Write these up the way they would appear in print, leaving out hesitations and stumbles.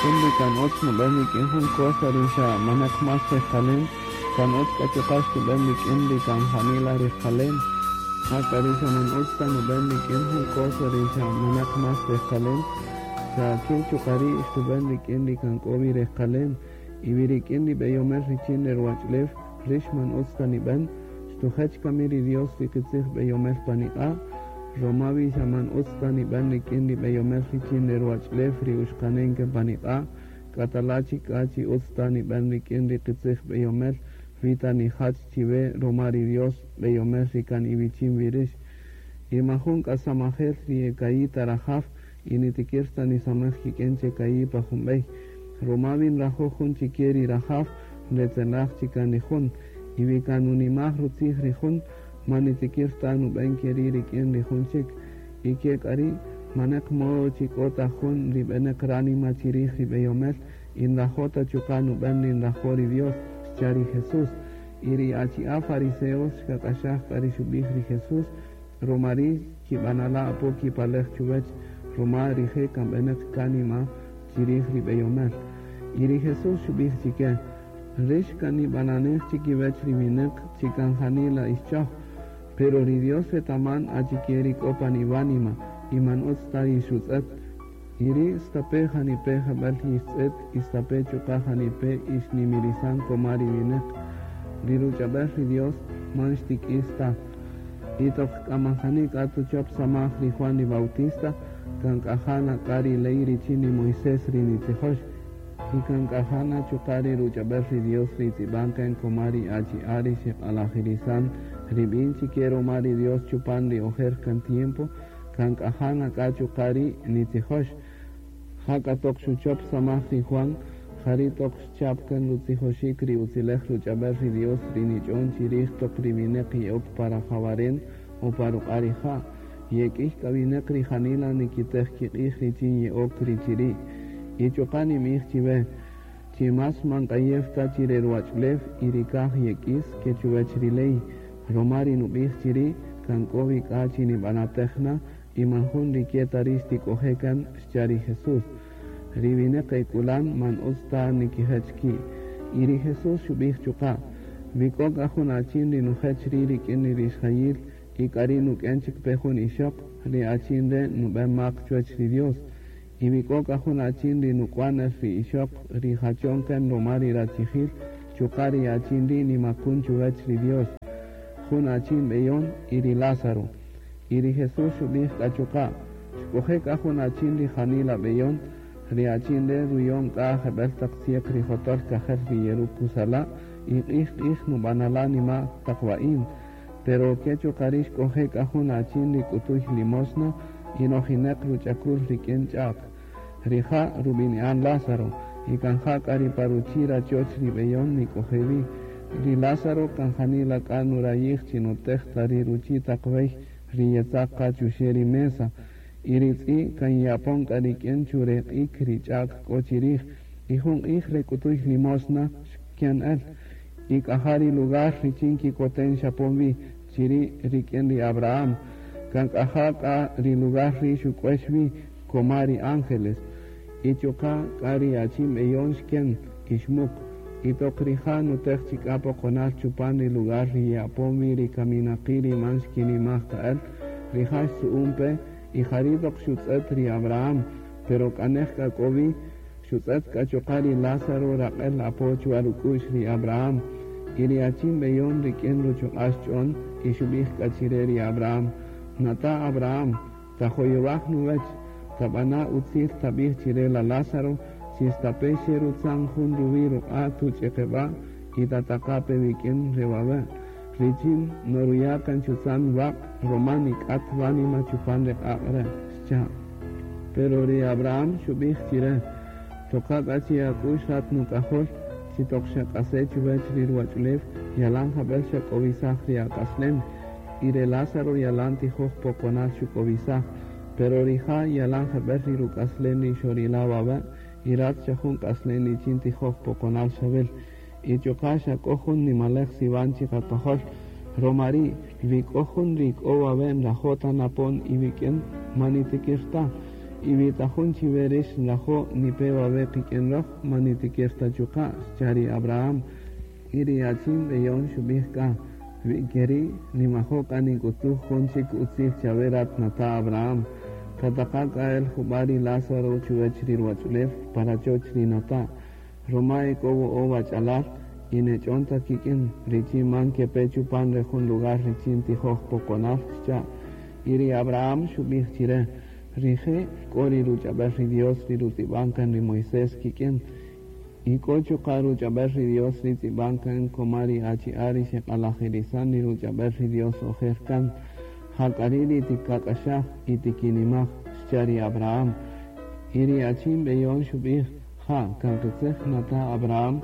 Jun ri kan utz nuben rik'in jun cosa ri xa maneq más rejqalem, kan utz k'a chuqa' xtub'en rik'in ri kan janila rejqalem. Jak'a ri xa man utz ta nuben rik'in jun cosa ri xa maneq más rejqalem, xa ke chuqa' ri' xtub'en rik'in ri kan k'o wi rejqalem. Y wi rik'in ri b'eyomel richin re ruwach'ulew rix man utz ta nib'en, xtujech kami ri Dios ri qitzij b'eyomel pan iq'a'? Roma wi xa man utz ta nib'en rik'in ri b'eyomel richin re ruwach'ulew ri uxqanen kan pan iq'a', k'atala' chik k'a chi utz ta nib'en rik'in ri qitzij b'eyomel wi ta nijach chiwe roma ri Dios b'eyomel ri kan iwichin wi rix. Y man jun k'a samajel ri e ka'i' ta rajaw y nitikir ta nisamej kik'in che ka'i' pa jun b'ey. Roma wi nrajo' jun chike ri rajaw, nretzelaj chik kan ri jun. Y wi kan nunimaj rutzij ri jun, man nitikir ta nub'en keri' rik'in ri jun chik. Y ke k'a ri', maneq modo chi k'o ta jun ri b'eneq ránima chirij ri b'eyomel y nrajo' ta chuqa' nub'en ri nrajo' ri Dios, xcha' ri Jesús. Y ri achi'a' fariseos xkak'axaj k'a ri xub'ij ri Jesús, roma ri' xkib'anala' apo kipalej chuwech, roma rije' kan b'eneq kánima chirij ri b'eyomel. Y ri Jesús xub'ij chike: Rix kan nib'ananej chikiwech ri wineq chi kan janila ix choj, pero ri Dios retaman achike ri k'o pan iwánima y man utz ta yixrutz'et. Y ri' stape' janipe' jeb'ël yixtz'et y stape' chuqa' janipe' ixnimirisan koma ri wineq, ri ruch'ab'äl ri Dios man xtik'is ta. Y toq k'a man jani k'a tuchop samaj ri Juan ri Bautista, kan k'a ja na k'a ri ley richin ri Moisés ri nitzijox, y kan k'a ja na chuqa' ri ruch'ab'äl ri Dios ri tz'ib'an kan koma ri achi'a' ri xeq'alajirisan ri b'in chike roma ri Dios chupan ri ojer kan tiempo, kan k'a ja na k'a chuqa' ri nitzijox. Jak'a toq xuchop samaj ri Juan, jari' toq xchap kan rutzijoxik ri utzilej ruch'ab'äl ri Dios ri nich'on chirij toq ri wineq ye'ok pa rajawaren o pa ruq'a' rija'. Yek'ïy k'a wineq ri janila nikitej kiq'ij richin ye'ok ri chiri'. Y chuqa' ninb'ij chiwe, chi más man k'ayew ta chi re ruwach'ulew y ri kaj yek'is ke chuwech ri ley, roma ri nub'ij chiri' kan k'o wi k'a chi nib'anatej na y man jun ri ke ta ri xtik'oje' kan, xcha' ri Jesús. Ri wineq e k'ulan man utz ta nikijech ki'. Y ri Jesús xub'ij chuqa': Wi k'o k'a jun achin ri nujech ri' rik'in ri rixjayil y k'a ri' nuk'en chik pe jun ixoq, ri achin re' nub'en mak chuwech ri Dios. Y wi k'o k'a jun achin ri nuk'wan el ri ixoq ri jachon kan roma ri rachijil, chuqa' ri achin ri' nimakun chuwech ri Dios. Jun achin b'eyon y ri Lázaro. Y ri Jesús xub'ij k'a chuqa': Xk'oje' k'a jun achin ri janila b'eyon, ri achin re' ruyon k'a jeb'ël taq tzieq ri jotol kajel ri yerukusala' y q'ij q'ij nub'anala' nima' taq wa'in. Pero ke chuqa' ri' xk'oje' k'a jun achin ri k'utuy limosna y nojineq ruch'akul rik'in ch'a'k. Rija' rub'ini'an Lázaro, y kan ja k'a ri pa ruchi' rachoch ri b'eyon nik'oje' wi. Ri Lázaro kan janila k'a nurayij chi nutej ta ri ruchi' taq wey ri yetzaq qa chuxe' ri mesa. Y ri tz'i' kan ye'apon k'a rik'in chureq'ik ri ch'a'k k'o chirij. Y jun q'ij re k'utuy limosna xken el. Y k'a ja ri lugar richin kikoten xapon wi chiri' rik'in ri Abraham. Kan k'a ja k'a ri lugar ri' xuk'uex wi koma ri ángeles. Y chuqa' k'a ri achin b'eyon xken y xmuq. Y toq rija' nutej chik k'a poqonal chupan ri lugar ri ye'apon wi ri kaminaqi' ri man xkinimaj ta el, rija' xtzu'un pe y jari' toq xutz'et ri Abraham, pero k'a nej k'a k'o wi, xutz'et k'a chuqa' ri Lázaro raq'el apo chwa ruk'u'x ri Abraham. Y ri achin b'eyon rik'in ruchuq'a' xch'on y xub'ij k'a chire ri Abraham: Nata' Abraham, tajoyowaj nuwech, tab'ana' utzil tab'ij chire la Lázaro chi stape' xerutzan jun ruwi' ruq'a' tuch'eqeb'a' y tataqa' pe wik'in re wawe', richin noruya' kan chutzan waq' roma nik'at wánima chupan re q'aq' re', xcha'. Pero ri Abraham xub'ij chire: Toqa k'a chi ak'u'x rat nuk'ajol, chi toq xak'ase' chuwech ri ruwach'ulew, yalan jab'el xak'owisaj ri ak'aslem, y re Lázaro yalan tijoj poqonal xuk'owisaj, pero rija' yalan jeb'ël ri ruk'aslen ri xorila' wawe', y rat xa jun k'aslen richin tijoj poqonal xawil. Y chuqa' xa k'o jun nimalej siwan chiqakojol, roma ri' wi k'o jun ri k'o wawe' nrajo' ta napon iwik'in, man nitikir ta. Y wi ta jun chiwe rix nrajo' nipe wawe' qik'in roj, man nitikir ta chuqa', xcha' ri Abraham. Y ri achin b'eyon xub'ij k'a, Wi keri', nimajo' k'a nink'utuj jun chik utzil chawe rat nata' Abraham. Tataqa' k'a el jub'a' ri Lázaro chuwech ri ruwach'ulew pa rachoch ri nata', ruma e k'o wo'o' wach'alal y nech'on ta kik'in richin man kepe chupan re jun lugar richin tijoj poqonal, xcha'. Y ri Abraham xub'ij chire, Rije' k'o ri ruch'ab'el ri Dios ri rutz'ib'an kan ri Moisés kik'in, y k'o chuqa' ruch'ab'el ri Dios ri tz'ib'an kan koma ri achi'a' ri xeq'alajirisan ri ruch'ab'el ri Dios ojer kan. Ja k'a ri' ri tikak'axaj y tikinimaj, xcha' ri Abraham. Y ri achin b'eyon xub'ij, Ja', kan qitzij nata' Abraham,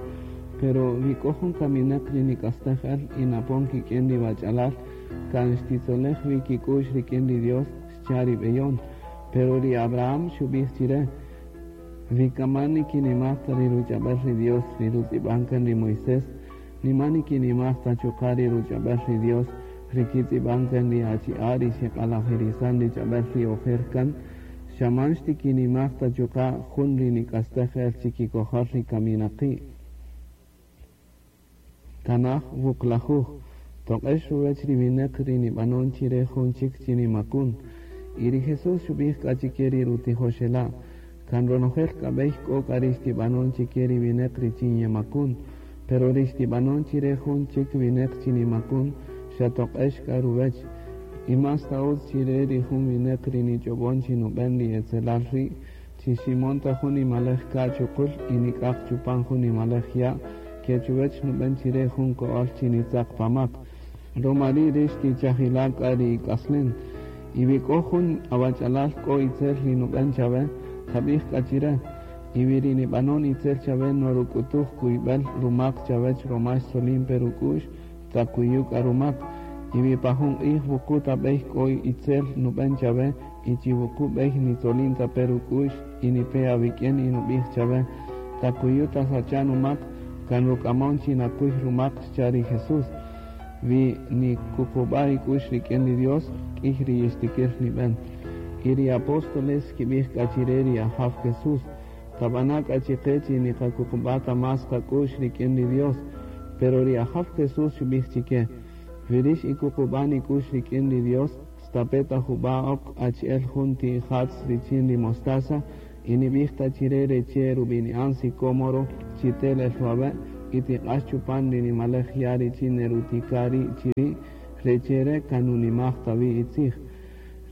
pero wi k'o jun kaminäq ri nik'astej el y napon kik'in ri wach'alal, kan xtitzolej wi kik'u'x rik'in ri Dios, xcha' ri b'eyon. Pero ri Abraham xub'ij chire, Wi kan man nikinimaj ta ri ruch'ab'el ri Dios ri rutz'ib'an kan ri Moisés, ni man nikinimaj ta chuqa' ri ruch'ab'el ri Dios ri kitz'ib'an kan ri achi'a' ri xeq'alajirisan ri ch'ab'el ri ojer kan, xa man xtikinimaj ta chuqa' jun ri nik'astej el chikikojol ri kaminaqi'. Tanaj wuqlajuj, Toq'ex ruwech ri wineq ri nibanon chire jun chik chi nimakun. Y ri Jesús xubij k'a chike ri rutijoxela', Kan ronojel k'a bey k'o k'a ri xtibanon chike ri wineq richin yemakun, pero ri xtibanon chire jun chik wineq chi nimakun, xa toq'ex k'a ruwech. Y más ta utz chire ri jun wineq ri nich'obon chi nuben ri etzelal ri', Chi ximon ta jun nimalej ka' chuqul y nik'aq chupan jun nimalej ya', ke chuwech nuben chire jun ko'ol chi nitzaq pa mak. Roma ri' rix tichajila' k'a ri ik'aslen. Y wi k'o jun awach'alal k'o itzel ri nuben chawe, tabij k'a chire. Y wi ri nibanon itzel chawe noruk'utuj kuybel rumak chawech roma xtzolin-pe ruk'u'x, takuyu' k'a rumak. Y wi pa jun q'ij wuqu' ta bey k'o itzel nuben chawe, Y chi wuqu' b'ey nitzolin ta pe ruk'u'x y nipe awik'in y nub'ij chawe, Takuyu' tasacha' numak, kan ruk'amon chi nakuy rumak, xcha' ri Jesús. Wi nikuqub'a' ik'u'x rik'in ri Dios, k'iy ri yixtikir nib'en. Y ri apóstoles xkib'ij k'a chire ri Ajaw Jesús, Tab'ana' k'a chiqe chi niqakuqub'a' ta más qak'u'x rik'in ri Dios. Pero ri Ajaw Jesús xub'ij chike, Wi rix ikuqub'an ik'u'x rik'in ri Dios, Stape' ta jub'a' ok achi'el jun ti ija'tz richin ri mostaza, y nib'ij ta chire re che' rub'ini'an sicómoro chi tel el wawe' y tiq'ax chupan ri nimalej ya' richin nerutika' ri' chiri', re che' re' kan nunimaj ta wi itzij.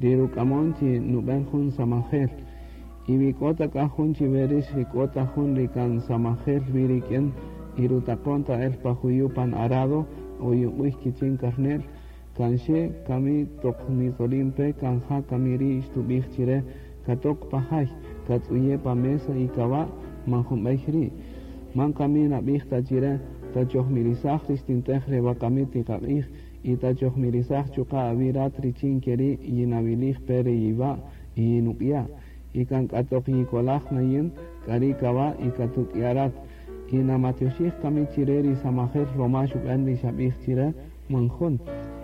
Ri ruk'amon chi nub'en jun samajel. Y wi k'o ta k'a jun chiwe rix ri k'o ta jun ri kan samajel wi rik'in y rutaqon ta el pa juyu' pan arado o yuq'uy kichin karne'l, Kan xe kami toq nitzolin pe kan ja kami ri' xtub'ij chire, Katok pa jay, katz'uye' pa mesa y kawa', man jun b'ey ri'. Man kami nab'ij ta chire, Tachojmirisaj ri xtintej re wakami tiqaq'ij y tachojmirisaj chuqa' awi' rat richin keri' yinawilij pe re yiwa' y yinuk'ya'. Y kan k'a toq yikolaj na yin, k'ari' kawa' y katuk'ya' rat. Y namatioxij kami chire ri samajel roma xub'en ri xab'ij chire? Man jun.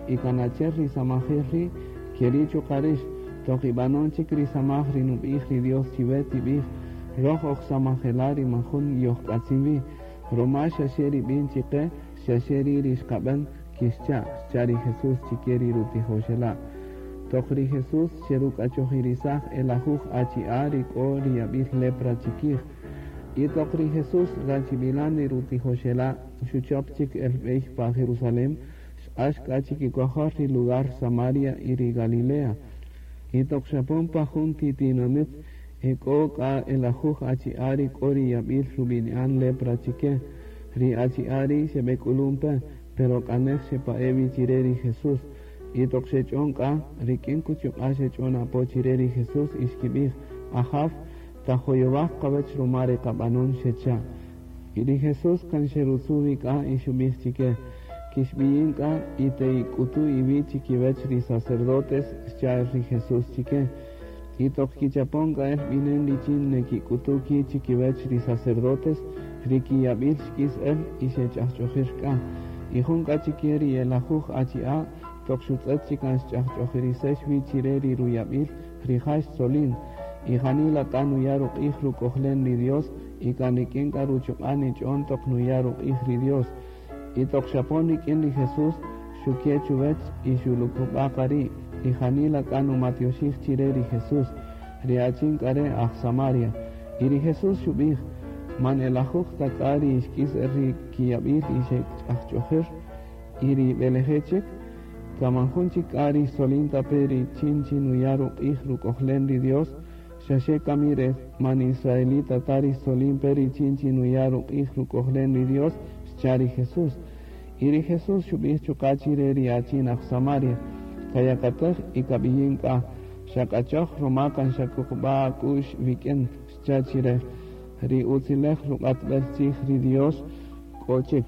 Y kan achi'el ri samajel ri', keri' chuqa' rix, toq ib'anon chik ri samaj ri nub'ij ri Dios chiwe, tib'ij, Roj oj samajela' ri man jun yojk'atzin wi, roma xaxe ri b'in chiqe, xaxe ri' ri xqab'en, kixcha', xcha' ri Jesús chike ri rutijoxela'. Toq ri Jesús xeruk'achojirisaj e lajuj achi'a' ri k'o ri yab'il lepra chikij. Y toq ri Jesús rachib'ilan ri rutijoxela' xuchop chik el b'ey pa Jerusalén, xq'ax k'a chikikojol ri lugar Samaria y ri Galilea. Y toq xapon pa jun ti tinamit, ek'o k'a e lajuj achi'a' ri k'o ri yab'il rub'ini'an lepra chike. Ri achi'a' ri' xeb'ek'ulun pe, pero k'a nej xepa'e' wi chire ri Jesús. Y toq xech'on k'a, rik'in kuchuq'a' xech'on apo chire ri Jesús y xkib'ij, Ajaw, tajoyowaj qawech ruma ri qab'anon, xecha'. Y ri Jesús kan xerutzu' wi k'a y xub'ij chike, Kixb'iyin k'a y te'ik'utu' iwi' chikiwech ri sacerdotes, xcha' el ri Jesús chike. Y toq kichapon k'a el b'inen richin nekik'utu' ki' chikiwech ri sacerdotes, ri kiyab'il xk'is el y xech'ajch'ojir k'a. Y jun k'a chike ri e lajuj achi'a', toq xutz'et chi kan xch'ajch'ojirisex wi chire ri ruyab'il, rija' xtzolin. Y janila k'a nuya' ruq'ij ruk'ojlen ri Dios, y kan rik'in k'a ruchuq'a' nich'on toq nuya' ruq'ij ri Dios. Y toq xapon rik'in ri Jesús, xuke' chuwech y xulukub'a' qa ri', y janila k'a numatioxij chire ri Jesús, ri achin k'a re' aj Samaria. Y ri Jesús xub'ij, Man e lajuj ta k'a ri xk'is el ri kiyab'il y xech'ajch'ojir, y ri b'eleje' chik? Kan man jun chik k'a ri xtzolin ta pe richin chi nuya' ruq'ij ruk'ojlen ri Dios, xaxe kami re man israelita ta ri xtzolin pe richin chi nuya' ruq'ij ruk'ojlen ri Dios, xcha' ri Jesús. Y ri Jesús xub'ij chuqa' chire ri achin aj Samaria, Kayakatej y kab'iyin k'a, xak'achoj ruma kan xakuqub'a' ak'u'x wik'in, xcha' chire. Ri utzilej ruq'atb'el tzij ri Dios k'o chik.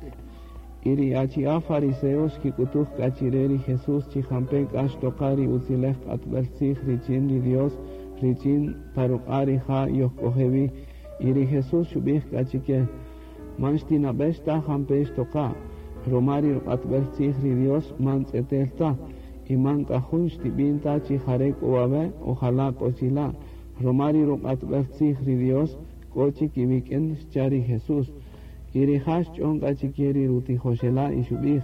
Y ri achi'a' fariseos xkik'utuj k'a chire ri Jesús chi jampe' k'a xtoqa ri utzilej q'atb'el tzij richin ri Dios richin pa ruq'a' rija' yojk'oje' wi. Y ri Jesús xub'ij k'a chike, Man xtinab'ex ta jampe' xtoqa, ruma ri ruq'atb'el tzij ri Dios man tz'etel ta, y man k'a jun xtib'in ta chi jare' k'o wawe' o jala' k'o chila', ruma ri ruq'atb'el tzij ri Dios k'o chik iwik'in, xcha' ri Jesús. Y rija' xch'on k'a chike ri rutijoxela' y xubij,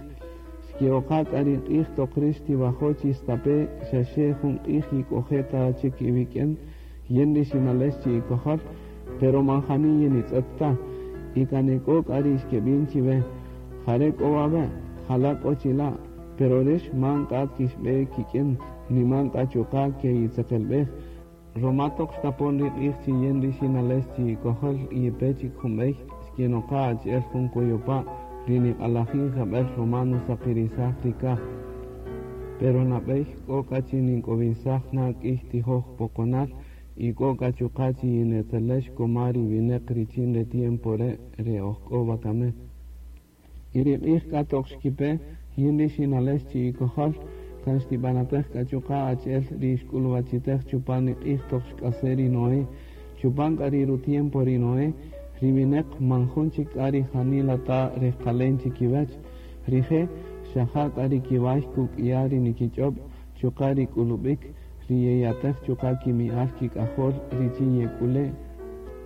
Xke'oqa k'a ri q'ij toq rix xtiwajo' chi stape' xaxe jun q'ij yik'oje' ta chik iwik'in, yin ri xinalex chi'ikojol, pero man jani yinitz'et ta. Y kan ek'o k'a ri xkebin chiwe, Jare' k'o wawe', jala' k'o chila', pero rix man k'a kixbe kik'in, ni man k'a chuqa' ke'itzeqelbej. Roma toq xtapon ri q'ij chi yin ri xinalex chi'ikojol yipe chik jun bey, xkinoqa achi'el jun koyopa' ri niq'alajin jebel roma nusaqirisaj ri kaj. Pero nabey k'o k'a chi nink'owisaj na k'iy tijoj poqonal y k'o k'a chuqa' chi yinetzelex koma ri wineq richin re tiempo re' re ojk'o wakami. Y ri q'ij k'a toq xkipe, yin ri xinalex chi'ikojol, kan xtibanatej k'a chuqa' achi'el ri xk'uluwachitej chupan ri q'ij toq xk'ase' ri Noé. Chupan k'a ri ru-tiempo ri Noé, ri wineq man jun chik k'a ri janila ta rejqalen chikiwech. Rije' xa ja k'a ri kiway kuk'ya' ri nikich'ob, chuqa' ri k'ulubik, ri yeyatej chuqa' kimi'al kik'ajol richin yek'ule'.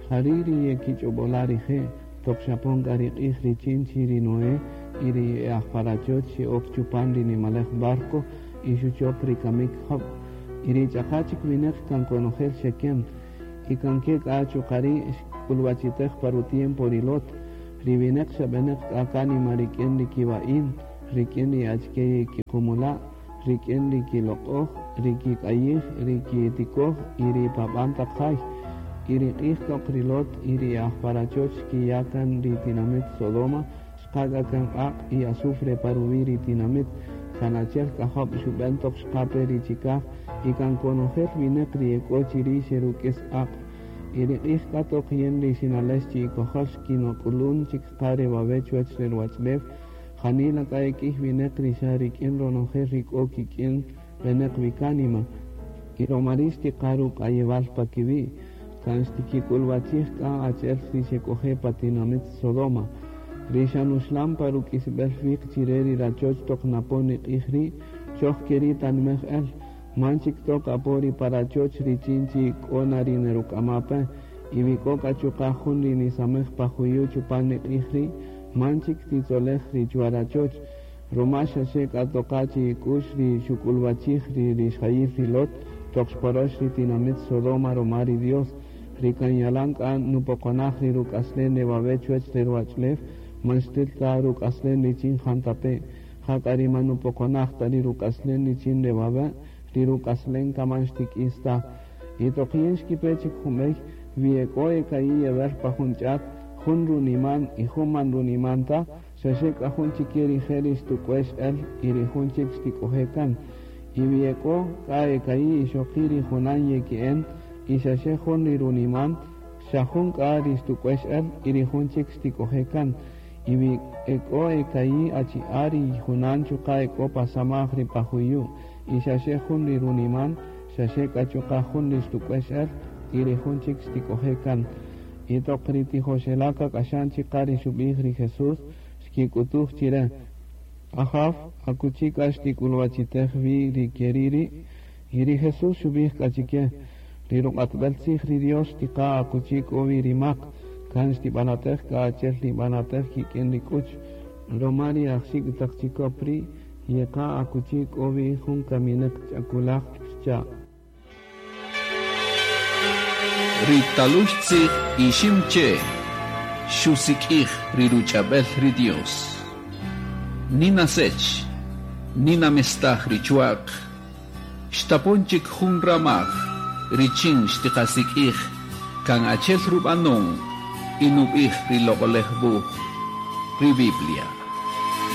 Jari' ri yekich'obola' rije'. Toq xapon k'a ri q'ij richin chi ri Noé y ri e aj pa rachoch xe'ok chupan ri nimalej barco y xuchop ri kamik job. Y ri ch'aqa' chik wineq kan konojel xeken. Y kan ke k'a chuqa' ri' xk'uluwachitej pa ru-tiempo ri Lot. Ri wineq xa beneq k'a kánima rik'in ri kiwa'in, rik'in ri achike yekiqumula', rik'in ri kiloq'oj, ri kik'ayij, ri kitikoj y ri paban taq jay. Y ri q'ij toq ri Lot y ri e aj pa rachoch xkiya' kan ri tinamit Sodoma, xqa' k'a kan q'aq' y azufre pa ruwi' ri tinamit. Kan achi'el k'a job xuben toq xqa-pe ri chikaj, y kan konojel wineq ri ek'o chiri' xeruk'is q'aq'. Y ri q'ij k'a toq yin ri xinalex chi'ikojol xkinok'ulun chik qa re wawe' chuwech re ruwach'ulew, Janila k'a e k'iy wineq ri xa rik'in ronojel ri k'o kik'in beneq wi kánima, y roma ri' xtiqa' ruk'ayewal pa kiwi', kan xtikik'uluwachij k'a achi'el ri xek'oje' pa tinamit Sodoma. Ri xa nuxlan pa ruk'isibel wiq chire ri rachoch toq napon ri q'ij ri', choj keri' tanimej-el, man chik tok apo ri pa rachoch richin chi k'o na ri neruk'ama-pe, y wi k'o k'a chuqa' jun ri nisamej pa juyu' chupan ri q'ij ri', Man chik titzolej ri chuwa-rachoch, roma xaxe k'a toqa' chi'ik'u'x ri xuk'uluwachij ri rixjayil ri Lot toq xporox ri tinamit Sodoma roma ri Dios, ri kan yalan k'a nupoqonaj ri ruk'aslen re wawe' chuwech re ruwach'ulew, man xtil ta ruk'aslen richin jantape', jak'a ri man nupoqonaj ta ri ruk'aslen richin re wawe', ri ruk'aslen kan man xtik'is ta. Y toq yin xkipe chik jun bey, wi ek'o e ka'i' yewer pa jun ch'at, Jun runiman y jun man runiman ta, xaxe k'a jun chike rije' ri xtuk'uex-el y ri jun chik xtik'oje' kan. Y wi ek'o k'a e ka'i' ixoqi' ri junan yeki'en y xaxe jun ri runiman, xa jun k'a ri xtuk'uex-el y ri jun chik xtik'oje' kan. Y wi ek'o e ka'i' achi'a' ri junan chuqa' ek'o pa samaj ri pa juyu' y xaxe jun ri runiman, xaxe k'a chuqa' jun ri xtuk'uex-el y ri jun chik xtik'oje' kan. Y toq ri tijoxela' kak'axan chik qa ri xubij ri Jesús, xkik'utuj chire, Ajaw, akuchi k'a xtik'uluwachitej-wi ri keri' ri'? Y ri Jesús xubij k'a chike, Ri ruq'atb'el-tzij ri Dios xtiqa' akuchi k'o-wi ri mak, kan xtibanatej k'a achi'el nibanatej kik'in ri k'uch, roma ri aj-xik' taq chikop ri' yeqa' akuchi k'o-wi jun kamineq ch'akulaj, xcha'. Ri talux tzij Iximche' xusik'ij ri ruch'ab'el ri Dios. Nina Sech, Nina mestaj ri chwa'q, xtapon chik jun ramaj richin xtiqasik'ij kan achel rub'anon y nub'ij ri Loq'olej Wuj, ri Biblia.